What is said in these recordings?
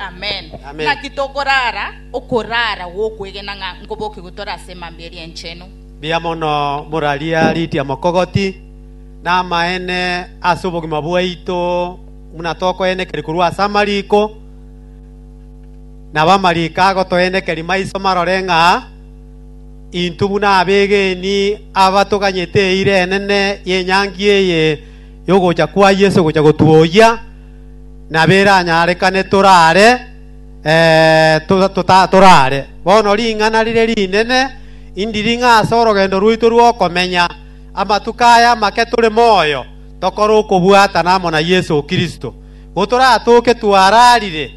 Amen. Amen. Naki tokorara okorara gw'okwegena ng'a nkobokigwe tore ase emambia eria enchenu. Mbuya mono moraria Lydia Mokogoti, namaene ase obogima bwaito buna tokoenekeria korwa ase amariko, nabo amariko agotoenekeria maiso marore ng'a intwe buna abegeni aba toganyete eira enene y'enyangi eye y'ogocha kwa Yeso gocha gotwoyia, nabo eranyarekane torare torare. Bono ring'ana rire rinene indiri ng'a ase orogendo rwaito rw'okomenya amatuko aya amake tore moyo, tokore okobwatana amo na Yeso Kristo. Gotoratoke twararire,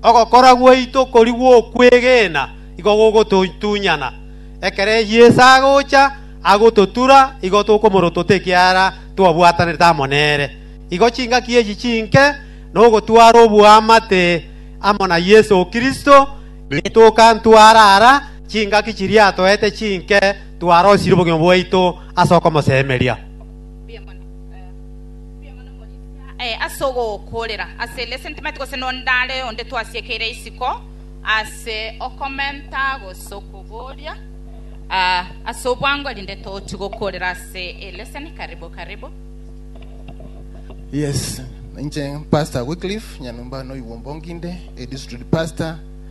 ogokora gwaito koria gw'okwegena igo gogototunyana. Ekero Yeso agocha, agototura, igo tokomorotota ekiagera twabwatanete amo nere. Igo chingaki echi chinke nogotwara oboamate amo na Yeso Kristo, rituko ntwarara chingaki chiria atoete chinke twarosirie obogima bwaito ase okomosemeria. Ase ogokoorera ase lesson timanyeti gose nonde are onde twasiekeire isiko ase okomenta gose okoboria ase obwango erinde tochi gokoorera ase elesson. Karibu karibu. Yes, inche Pastor Wycliffe Nyanumba noigwa ombonginde, a district pastor.